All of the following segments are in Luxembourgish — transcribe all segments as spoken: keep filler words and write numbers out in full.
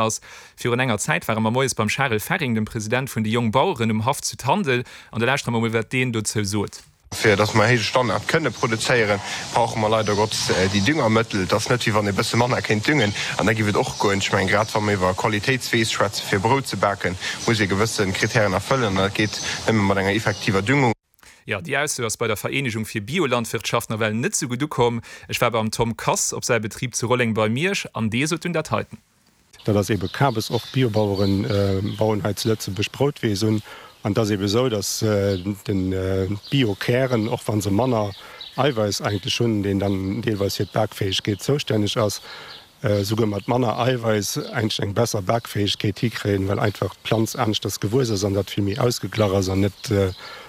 Ass. Virun enger Zäit ware mer moies beim Charel Ferring, dem President vun de Jongbaueren, um Haff zu Tandel, an da lauschtere mer mol, wat deen dozou sot. Fir datt mer héije Standard kënne produzéieren, brauche mer leider Gottes déi Düngermëttel. Et ass net, wéi wann ee bësse manner kéint düngen an da giff et och goen. Ech mengen, grad wa mer iwwer Qualitéitsweess schwätzen, fir Brout ze baken, muss ee gewësse Kritären erfëllen an dat geet nëmme mat enger effektiver Düngung. Jo, déi Ausso ass bei der Vereenegung fir Biolandwirtschaft nawell net sou gutt ukomm. Ech war beim Tom Kass op säi Betrib zu Rolleng bei Miersch an dee sot dunn dat heiten. Dat ass eebe Kabes. Och Biobaueren bauen hei zu Lëtzebuerg Broutweess un. An et ass eebe sou, datt d'Biokären, och wa se manner Eiweiss eigentlech hunn, deen dann deelweis fir d'Bakfäegkeet zoustänneg ass, souguer mat manner Eiweiss eigentlech eng besser Bakfäegkeet hikréien, well einfach d'Planz aneschters gewuess ass an dat vill méi ausgeglach ass an net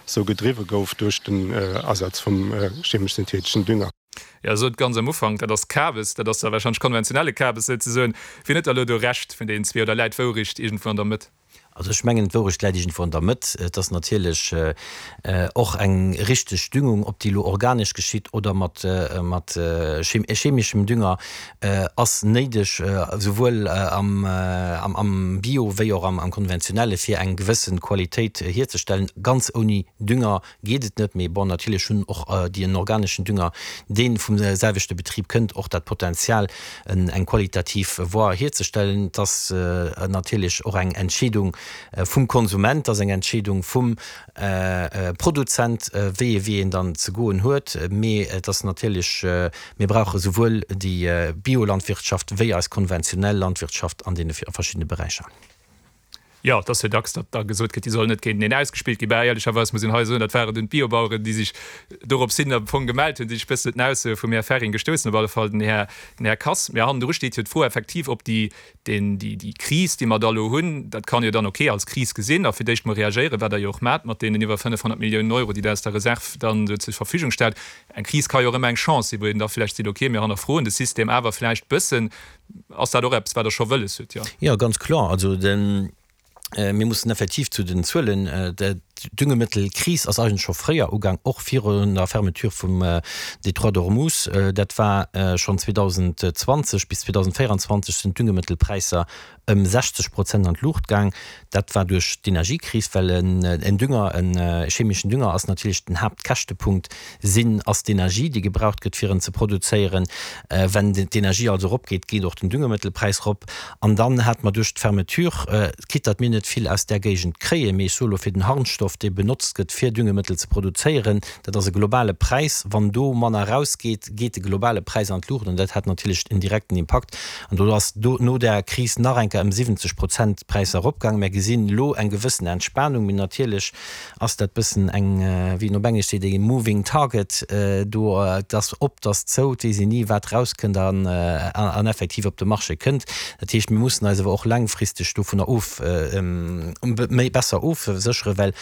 sou gedriwwe gouf duerch den Asaz vum chemesch-syntheteschen Dünger. Jo, sot ganz am Ufank, dat ass Kabes, dat ass da wahrscheinlech konventionelle Kabes souzesoen. Wien huet da elo do Recht vun deenen zwee oder läit d'Wourecht iergendwou an der Mëtt? Also ech mengen, d'Wourecht läit iergendwou an der Mëtt. Et ass natierlech och eng richteg Düngung, ob déi elo organesch geschitt oder mat mat chemeschem Dünger, ass néideg, souwuel am am Bio wéi och am konventionelle fir eng gewësse Qualitéit hierzestellen. Ganz ouni Dünger geet et net, mee bon, natierlech hunn och déi en organeschen Dünger, dee vum selwechte Betrib kënnt, och dat Potenzial, eng qualitativ Voie hierzestellen. Et ass natierlech och eng Entscheedung vum Konsument, et ass eng Entscheedung vum Produzent, wéi ee Wee een dann ze goen huet. Mee et ass natierlech, mir brauche souwuel déi Biolandwirtschaft wéi eis konventionell Landwirtschaft an deene verschiddene Beräicher. Jo, et ass jo dacks, datt da gesot gëtt, déi sollen net géinteneen ausgespillt ginn. Bah, éierlecherweis muss een hei soen, dat waren dunn d'Biobaueren, déi sech dorops hin am Fong gemellt hunn, déi sech e bëssen un den Aussoe vum Här Ferring gestouss hunn, op alle Fall den Här, den Här Kass. Mä hannendru steet jo d'Fro effektiv, ob déi, deen, déi, déi Kris, déi mer da elo hunn, dat kann jo dann ok als Kris gesinn a fir d'éischt mol reagéieren, wat Der jo och maacht mat deenen iwwer fënnefhonnert Milliounen Euro, déi Der aus der Reserv dann do zur Verfügung stellt. Eng Kris ka jo och ëmmer eng Chance sinn, wou een da vläicht seet, ok, mir hannerfroen de System awer vläicht bëssen. Ass dat och eppes, wat Der scho wëlles hutt? Jo. Jo, ganz kloer. Also de, mir mussen effektiv zu den Zuelen, d'Düngemëttelkris ass eigentlech scho fréier ugaang, och virun der Fermeture vum Détroit d'Ormuz. Dat war schonn zweedausendzwanzeg bis zweedausendvéierundzwanzeg sinn d'Düngemëttelpräisser ëm sechzeg Prozent an d'Luucht gaang. Dat war duerch d'Energiekris, well en Dünger, e chemeschen Dünger ass natierlech den Haaptkäschtepunkt sinn, ass d'Energie, déi gebraucht gëtt, fir en ze produzéieren. Wenn d'Energie also eropgeet, geet och den Düngemëttelpräis erop. An dann hate mer duerch d'Fermeture, quitte datt mir net vill aus där Géigend kréien, mee ech soe lo fir den Harnstoff, dee benotzt gëtt, fir Düngemëttel ze produzéieren, dat ass e globale Präis. Wann do manner erausgeet, geet de globale Präis an d'Luucht an dat hat natierlech en direkten Impakt. An do ass do no där Kris nach eng Kéier ëm siwwenzeg Prozent d'Präisser eropgaang. Mär gesinn elo eng gewëssen Entspanung, mee natierlech ass dat bëssen eng, wéi een op Englesch seet, e moving target. Do, et ass op, et ass zou, et weess een ni, wat erauskënnt an an effektiv op de Marché kënnt. Dat heescht, mir mussen eis awer och laangfristeg dovunner of méi besser ofsécheren, well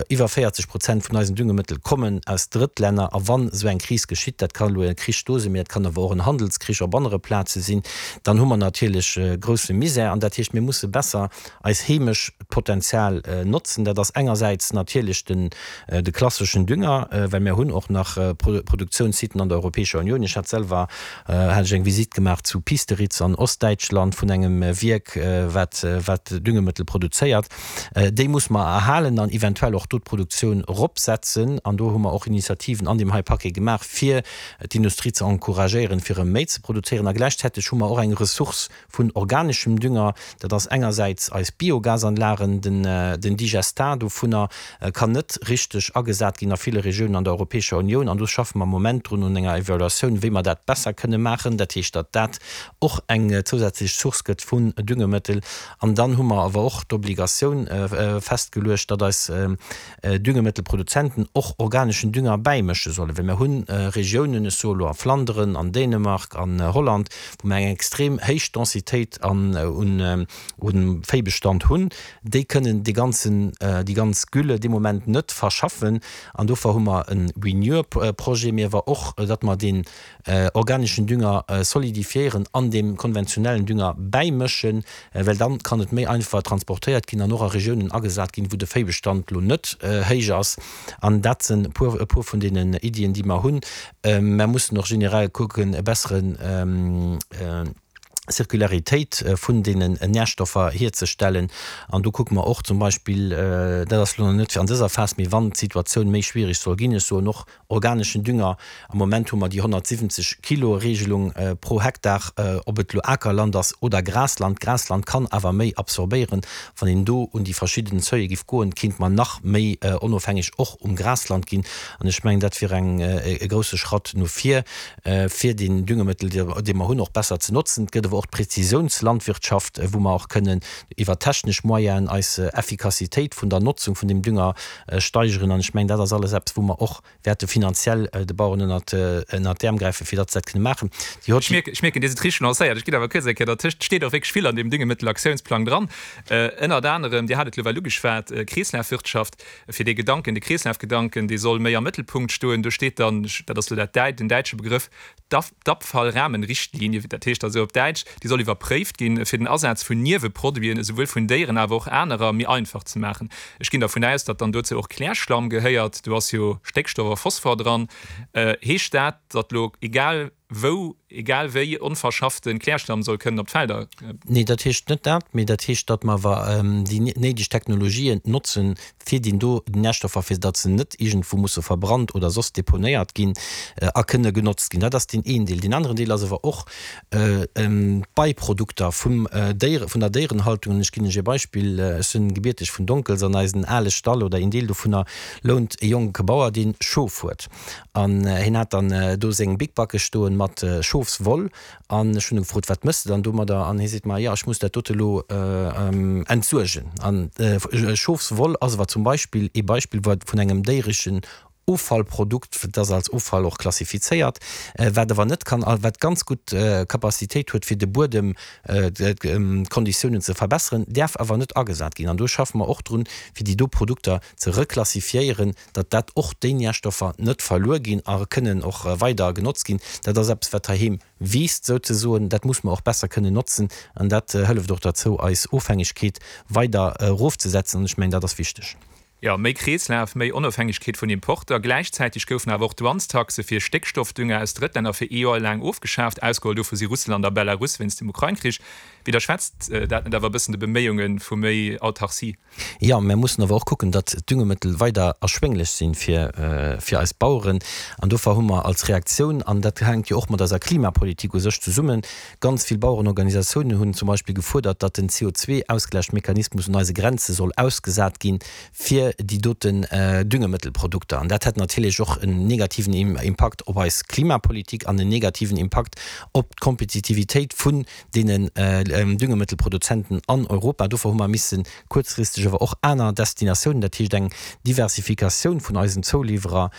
iwwer véierzeg Prozent vun eisen Düngemëttel kommen aus Drëttlänner. A wann esou eng Kris geschitt, dat kann elo e Krich do sinn, mee dat kann awer och en Handelskrich op anere Plaze sinn, dann hu mer natierlech grousse Misär. An dat heescht, mir musse besser eis heemesch Potenzial notzen. Dat ass engersäits natierlech den de klasseschen Dünger, well mir hunn och nach Produktiounssiten an der Europäescher Unioun. Ech hat selwer hat ech eng Visitt gemaach zu Piesteritz an Ostdäitschland vun engem Wierk, wat wat Düngemëttel produzéiert. Déi muss mer erhalen an eventuell och do d'Produktioun eropsetzen. An do hu mer och Initiativen an deem hei Paquet gemaach, fir d'Industrie ze encouragéieren, fir erëm méi ze produzéieren. A gläichzäiteg hu mer och eng Ressource vun organeschem Dünger. Dat ass engersäits eis Biogasanlagen, den Digestat dovunner kann net richteg agesat ginn a ville Regiounen an der Europäescher Unioun. An do schaffe mer am Moment drun un enger Evaluatioun, wéi mer dat besser kënne maachen. Dat heescht, datt dat och eng zousätzlech Source gëtt vun Düngemëttel. An dann hu mer awer och d'Obligatioun festgeluecht, datt eis Düngemëttelproduzenten och organeschen Dünger bäimësche sollen, well mir hu Regiounen, ech soe lo a Flanderen, an Dänemark, an Holland, wou mer eng extrem héich Densitéit an un un Véibestand hunn, déi kënnen dee ganzen, déi ganz Gülle dee Moment net verschaffen. An dofir hu mer e Renure-Projet, mee awer och, datt mer deen organeschen Dünger solidifiéieren an deem konventionellen Dünger bäimëschen, well dann kann et méi einfach transportéiert ginn an och a Regiounen agesat ginn, wou de Véibestand lo net héich ass. An dat sinn e puer, e puer vun deenen Iddien, déi mer hunn. Mer mussen och generell kucken, e besseren Circularitéit vun deenen Närstoffer hierzestellen. An do kucke mer och zum Beispill, dat ass elo nach net fir an dëser Phas, mee wann d'Situatioun méi schwierig soll ginn, ech soen och organeschen Dünger, am Moment hu mer déi honnertsiwwenzeg Kilo Regelung pro Hektar, ob et elo Akerland ass oder Grasland. Grasland kann awer méi absorbéieren. Wann een do un déi verschidden Seuile giff goen, kéint mer nach méi onofhängeg och um Grasland ginn. An ech mengen, dat wier eng e grousse Schratt no vir, fir deen Düngemittel, dee mer hunn, och besser ze notzen. Et gëtt awer och d'Präzisiounslandwirtschaft, wou mer och kënnen iwwer technesch Moyenen eis Effikassitéit vun der Notzung vun dem Dünger steigeren. An ech mengen, dat ass alles eppes, wou mer och wäerte finanziell de Baueren ënnert d'Äerm gräifen, fir datt se dat kënne maachen. Déi hot. Ech mierken, Dir sidd richteg lancéiert. Ech ginn awer kuerz eng Kéier dertëscht. Et steet och wierklech vill an deem Düngemittelaktionsplang dran. Ënnert anerem, Dir hat et elo well ugeschwat, Kreeslafwirtschaft, fir dee Gedanken, de Kreeslafgedanken, dee soll méi am Mëttelpunkt stoen. Do steet dann, dat ass elo dat, den däitsche Begrëff, d'Abfallrahmenrichtlinie, dat heescht also op Däitsch, déi soll iwwerpréift ginn, fir den Asaz vun Nieweproduiten, esouwuel vun Déieren awer och anerer, méi einfach ze maachen. Ech ginn dervun aus, datt dann dozou och Klärschlamm gehéiert, do ass jo Stéckstoff a Phosphor dran. Heescht dat, datt elo egal wou, egal wéi onverschaffte Klärschlamm soll kënnen op d'Felder? Nee, dat heescht net dat, mee dat heescht, datt mer awer déi néideg Technologien notzen, fir déi do Nährstoffer, fir datt se net iergendwou musse verbrannt oder soss deponéiert ginn a kënne genotzt ginn. Dat ass deen een Deel. Deen aneren Deel ass awer och d'Beiprodukter vum Déiere, vun der Déierenhaltung. An ech ginn lech e Beispill, Ech sinn gebierteg vun Donkels. An eisen ale Stall oder een Deel dovunner lount e jonke Bauer, dee Schof huet. An hien hat dann do seng Bikbacke stoen mat Schofswoll. An ech hunn e gefrot, Wat mëss de dann domadder? An hie seet mer, Jo, ech muss dat dote lo entsuergen. An Schofswoll ass awer zum Beispill ee Beispill vun engem déiereschen Offallprodukt, dat ass als Offall och klassifizéiert, wat awer net kann, wat ganz gutt Capacitéit huet, fir de Buedem, d'Konditiounen ze verbesseren, däerf awer net agesat ginn. An do schaffe mer och drun, fir déi do Produkter ze reklassifiéieren, datt dat och déi Nährstoffer net verluer ginn a kënnen och weider genotzt ginn. Dat ass eppes, wat heiheem wiisst souzesoen. Dat muss mer och besser kënnen notzen an dat hëlleft och derzou, eis Ofhängegkeet weider erofzesetzen. An ech mengen, dat ass wichteg. Jo, méi Kreeslaf, méi Onofhängegkeet vun Importer. Gläichzäiteg goufen awer och d'Douanestaxe fir Stéckstoffdünger aus Drëttlänner fir ee Joer laang ofgeschaaft. Ausgeholl dovu si Russland a Belarus wéinst dem Ukrain-Krich. Widderschwätzt dat net awer e bëssen de Beméiunge vu méi Autarcie? Jo, mär mussen awer och kucken, datt d'Düngemëttel weider erschwénglech sinn fir fir eis Baueren. An dofir hu mer als Reaktioun, an dat hänkt jo och mat eiser Klimapolitik u sech zesummen, ganz vill Bauerenorganisatiounen hunn zum Beispill gefuerdert, datt den C O zwei Ausglächmechanismus un eise Grenze soll ausgesat ginn fir déi doten Düngemëttelprodukter. An dat hätt natierlech och en negativen Impakt op eis Klimapolitik an en negativen Impakt op d'Kompetitivitéit vun deenen Düngemëttelproduzenten an Europa. Dofir hu mer misse kuerzfristeg awer och aner Destinatiounen, dat heescht eng Diversifikatioun vun eisen Zouliwwerer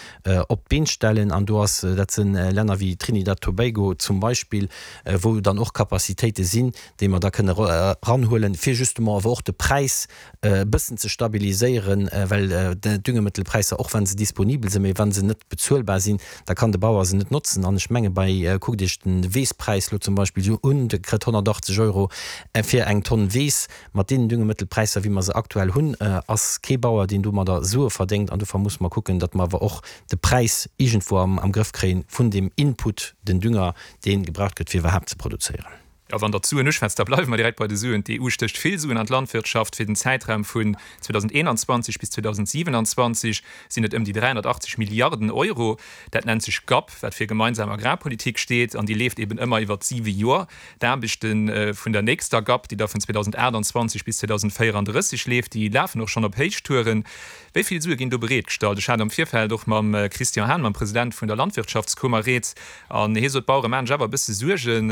op d'Been stellen. An do ass, dat si Länner wéi Trinidad Tobago zum Beispill, wou dann och Capacitéite sinn, déi mer da kënne eranhuelen, fir justement awer och de Präis e bëssen ze stabiliséieren, well d'Düngemëttelpräisser, och wa se disponibel sinn, mee wa se net bezuelbar sinn, da kann de Bauer se net notzen. An ech menge bei, kuckt Iech de Weesspräis elo zum Beispill un, de kritt honnertachtzeg Euro fir eng Tonn Weess. Mat deenen Düngemëttelpräisser, wéi mer se aktuell hunn, ass kee Bauer, deen domadder Sue verdéngt. An dofir musse mer kucken, datt mer awer och de Präis iergendwou am Grëff kréien vun deem Input, den Dünger, dee gebraucht gëtt, fir iwwerhaapt ze produzéieren. A wann Der d'Suen uschwätzt, da bleiwe mer direkt bei de Suen. D'E U stécht vill Suen an d'Landwirtschaft. Fir den Zäitraum vun zweedausendeenanzwanzeg bis zweedausendsiewenanzwanzeg sinn et ëm déi dräihonnertachtzeg Milliarden Euro. Dat nennt sech GAP, wat fir gemeinsam Agrarpolitik steet, an déi leeft eben ëmmer iwwert siwe Joer. D'Aarbechte vun der nächster GAP, déi da vun zweedausendachtanzwanzeg bis zweedausendvéierandrësseg leeft, déi lafen och schonn op Héichtouren. Wéi vill Sue ginn do bereetgestallt? Ech hat am Virfeld och mam Christian Hahn, mam President vun der Landwirtschaftskummer, rieds, an hie sot, d'Bauere maachen sech awer e bësse Suergen.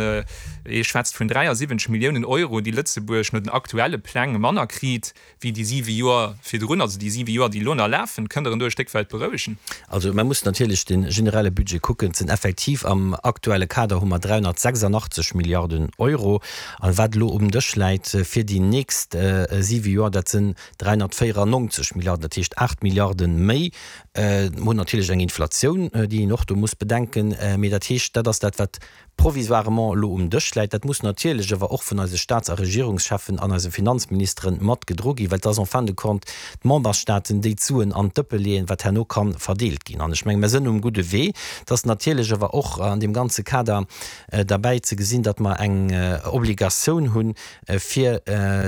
Hie schwätzt vun dräiasiwwenzeg Milliounen Euro, déi Lëtzebuerg no den aktuelle Pläng manner kriit wéi déi siwe Joer virdrun, also déi siwe Joer, déi elo nach lafen. Kënnt Der en do e Stéck wäit berouegen? Also mer mussen natierlech de generelle Budget kucken. Et sinn effektiv am aktuelle Kader hu mer dräihonnertsechsundachtzeg Milliarden Euro. A wat elo um Dësch läit fir déi nächst siwe Joer, dat sinn dräihonnertvéierannonzeg Milliarden, dat heescht aacht Milliarden méi. Mer hunn natierlech eng Inflatioun, déi een och do muss bedenken. Mee dat heescht, dat ass dat, wat provisoirement elo um Dësch läit. Dat muss muss natierlech awer och vun eise Staats a Regierungscheffen an eise Finanzministeren mat gedro ginn, well et ass en fin de compte d'Memberstaaten, déi d'Suen an d'Dëppe leeën, wat herno ka verdeelt ginn. An ech menge mer sënn um gudde Wee. Et ass natierlech awer och an deem ganze Kader derbäi ze gesinn, datt mer eng Obligatioun hunn, fir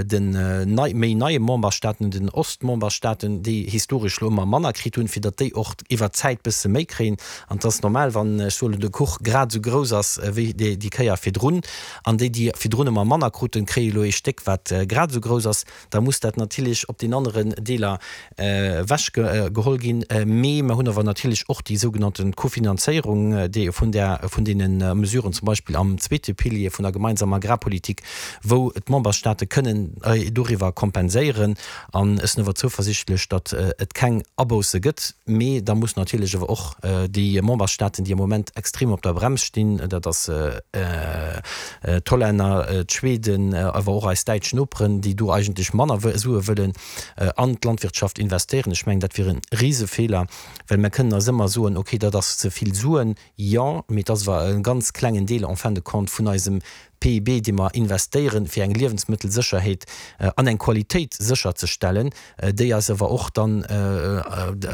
den nei, méi neie Memberstaaten, den Ostmemberstaaten, déi historesch elo ëmmer manner kritt hunn, fir datt déi och iwwert d'Zäit bësse méi kréien. An et ass normal, wann, ech soen, de Kuch grad esou grouss ass wéi déi Kéier virdrun, an déi, déi virdrun ëmmer manner kruten, kréie elo ee Stéck, wat grad esou grouss ass, da muss dat natierlech op den aneren Deeler ewech geholl ginn. Mee mer hunn awer natierlech och déi sougenannte Kofinanzéierung, déi vun där, vun deene Mesuren, zum Beispill am zweete Pilier vun der gemeinsamer Agrarpolitik, wou d'Memberstate kënnen doriwwer kompenséieren. An ech sinn awer zouversichtlech, datt et keng Abousse gëtt. Mee da mussen natierlech awer och déi Memberstaaten, déi am Moment extrem op der Brems stinn, dat ass d'Hollänner, d'Schweden, awer och eis däitsch Noperen, déi do eigentlech manner Sue wëllen an d'Landwirtschaft investéieren. Ech mengen, dat wier e Risefeeler, well mer kënnen eis ëmmer soen, okay, dat ass ze vill Suen, jo, mee et ass awer e ganz klengen Deel en fin de compte vun eisem P I B, dee mer investéieren, fir eng Liewensmëttelsécherheet an eng Qualitéit sécherzestellen, déi eis awer och dann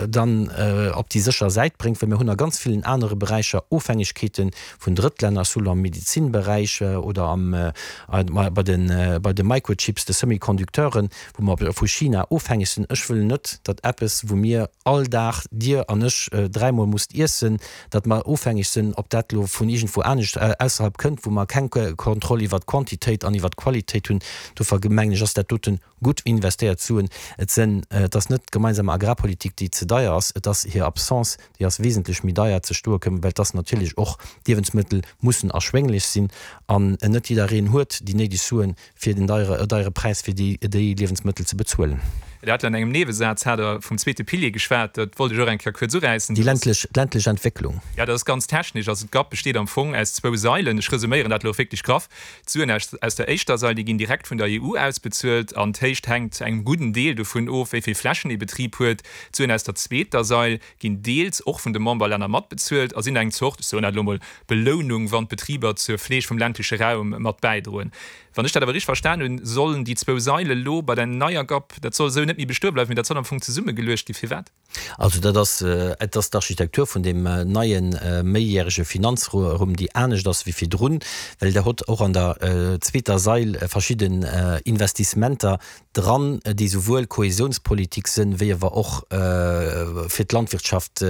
dann op déi sécher Säit bréngt, well mir hunn a ganz villen anere Beräicher Ofhängegkeete vun Drëttlänner, soll am Medizinberäich oder am bei de bei de Microchips, de Semiconducteuren, wou mer vu China ofhängeg sinn. Ech wëll net, datt eppes, wou mir all Dag, Dir an ech, dräimol musst iessen, datt mer ofhängeg sinn, ob dat elo vun iergendwou anescht ausserhalb kënnt, wou mer keng Kontroll iwwert d'Quantitéit an iwwert d'Qualitéit hunn. Dofir mengen ech, ass dat doten gutt investéiert Suen. Et sinn, et ass net d'gemeinsam Agrarpolitik, déi ze deier ass, et ass hir Absence, déi ass wesentlech méi deier ze stoe komm, well et ass natierlech och, d'Liewensmëttel mussen erschwénglech sinn an net jiddereen huet déi néideg Suen, fir den deiere, deiere Präis fir déi, déi Liewensmëttel ze bezuelen. Dir hat an engem Niewesaz hat Der vum zweete Pilier geschwat, dat wollt ech och eng Kéier kuerz uräissen. Déi ländlech, d'ländlech Entwécklung. Jo, dat ass ganz technesch. Also d'GAP besteet am Fong aus zwou Sailen. Ech resuméieren dat elo wierklech graff. D'Suen aus, aus der éischter Sail, déi ginn direkt vun der E U ausbezuelt an d'Héicht hänkt zu engem gudden Deel dovun of, wéi vill Flächen ee Betrib huet. D'Suen aus der zweeter Sail ginn deels och vun de Memberlänner matbezuelt a sinn eng Zort, ech soen dat elo mol, Belounung, wann d'Betriber zur Fleeg vum ländleche Raum mat bäidroen. Wann ech dat awer richteg verstan hunn, sollen déi zwou Saile lo bei der neier GAP, dat soll esou net méi bestoe bleiwen, mee dat soll am Fong zesummegeluecht ginn. Firwat? Also dat ass, et ass d'Architektur vun deem neie méijärege Finanzrumm, déi anescht ass wéi virdrun, well Der hutt och an der zweeter Sail verschidden Investissementer dran, déi souwuel Kohäsionspolitik sinn, wéi awer och fir d'Landwirtschaft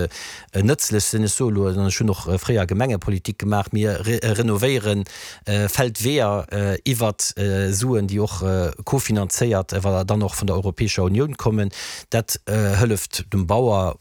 nëtzlech sinn. Ech soe elo, an ech hunn och fréier Gemengepolitik gemaach, mir renovéiere Feldweeër iwwert Suen, déi och kofinanzéiert awer dann och vun der Europäescher Unioun kommen. Dat hëlleft dem Bauer,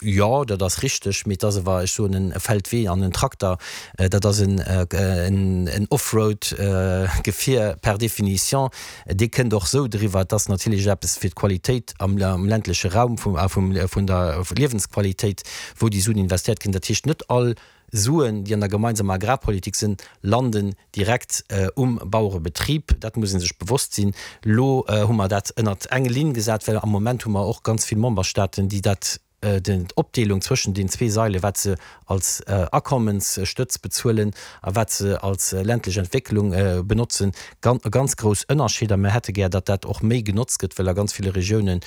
jo, dat ass richteg, mee et ass awer, ech soen, e Feldwee an en Trakter, dat ass en Offroad-Gefier per définition, dee kënnt och esou driwwer. Et ass natierlech eppes fir d'Qualitéit am ländleche Raum, vun der Liewensqualitéit, wou déi Suen investéiert ginn. Dat heescht, net all Suen, déi an der gemeinsamer Agrarpolitik sinn, landen direkt um Bauerebetrib. Dat muss ee sech bewosst sinn. Elo hu mer dat ënnert eng Linn gesat, well am Moment hu mer och ganz vill Memberstaaten, déi dat, d'Opdeelung zwëschen den zwee Saile, wat se als Akommensstëtz bezuelen a wat se als ländlech Entwécklung benotzen, ganz grouss Ënnerscheeder. Mer hätte gär, datt dat och méi genotzt gëtt, well a ganz ville Regiounen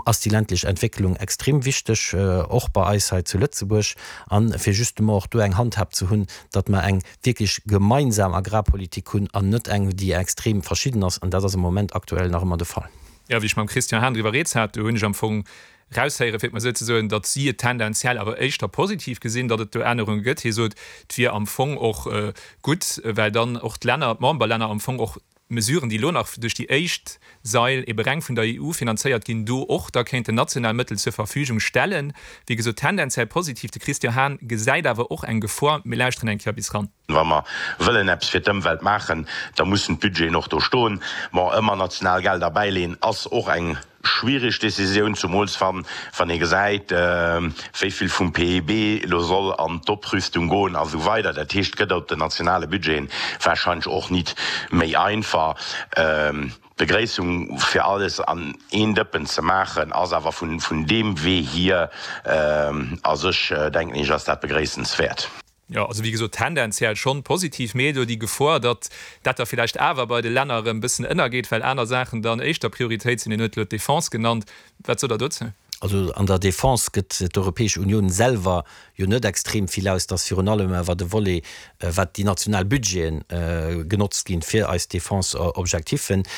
ass déi ländlech Entwécklung extrem wichteg, och bei eis hei zu Lëtzebuerg. A fir justement och do eng Handhab ze hunn, datt mer eng wierklech gemeinsam Agrarpolitik hunn an net eng, déi extrem verschidden ass. An dat ass am Moment aktuell nach ëmmer de Fall. Jo, wéi ech mam Christian Hahn driwwer rieds hat, do hunn ech am Fong raushéieren, fir et mol esou ze soen, datt si et tendenziell awer éischter positiv gesinn, datt et do Ännerunge gëtt. Hie sot, et wier am Fong och gutt, well dann och d'Länner, d'Memberlänner am Fong och Mesuren, déi elo nach duerch déi éischt Sail ebe reng vun der E U finanzéiert ginn, do och da kéinten national Mëttel zur Verfügung stellen. Wéi gesot, tendenziell positiv. De Christian Hahn gesäit awer och eng Gefor. Mir lauschteren eng Kéier bis ran. Wa mer wëllen eppes fir d'Ëmwelt maachen, da mussen d'Budgeten och do stoen. Bon, ëmmer national Gelder bäileen ass och eng schwierig Décisioun, zumools wann wann ee gesäit, wéi vill vum P I B elo soll an d'Oprüstung goen a sou weider. Dat heescht, et gëtt op den nationale Budgeten wahrscheinlech och nit méi einfach. D'Begréissung fir alles an een Dëppen ze maachen ass awer vun deem Wee hier a sech, denken ech, ass dat begréissenswäert. Jo, also wéi gesot, tendenziell schonn positiv, mee do déi Gefor, datt dat da villäicht awer bei de Länner erëm e bëssen ënnergeet, well aner Saachen dann éischter Prioritéit sinn. Hien huet elo d'Defense genannt. Wat sot Der dozou? Also an der Defense gëtt d'Europäesch Unioun selwer jo net extrem vill aus. Et ass virun allem awer de Volet, wat déi national Budgeten genotzt ginn, fir eis Defense-Objectifen.